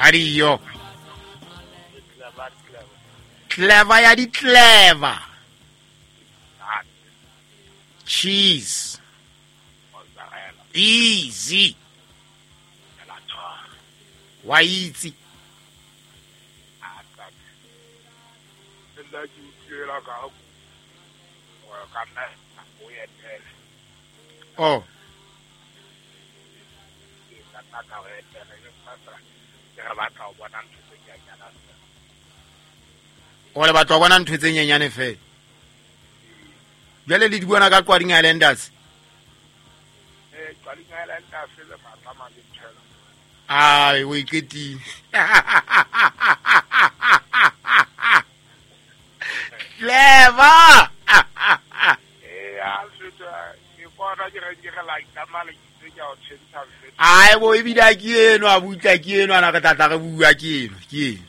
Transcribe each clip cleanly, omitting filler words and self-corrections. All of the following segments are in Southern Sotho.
Adio. Clever ya di clever. Cheese. Easy. Wa itse. Oh. O le batla ho bona ntho tse nyenyane fela. Jwale le di bona ka Qwading Islanders. Eh, Qwading Islanders le matlama le thela. Ai, o iqetile. Clever. Eh, a feta ke bona ke re ke re la itlama le itse ke a o tshentsa feta. Ai bo ebile a ke eno a butla ke eno ana re tla tla re bua ke eno, ke eno.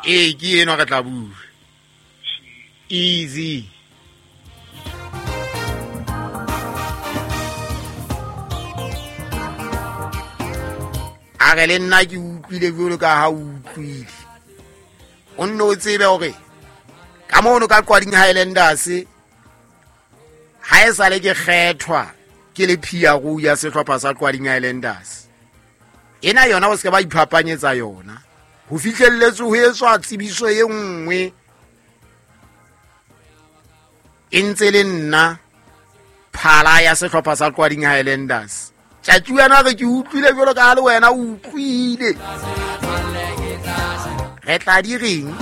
Ee, ke eno re tla bua. Easy. A re le nna ke utlwile jwalo ka ha o utlwile. O nne o tsebe hore ka mono ka Qwading Highlanders ha e sale ke kgethwa ke le PRO ya sehlopha sa Qwading Highlanders. Ena yona o se ke ba iphapanyetsa yona. Ho fihlelletswe ho etswa tsebiso e nngwe e ntse le nna phala ya sehlopha sa Qwading Highlanders. Tjatji wena re ke utlwile jwalo ka ha le wena o utlwile. Re tla di reng?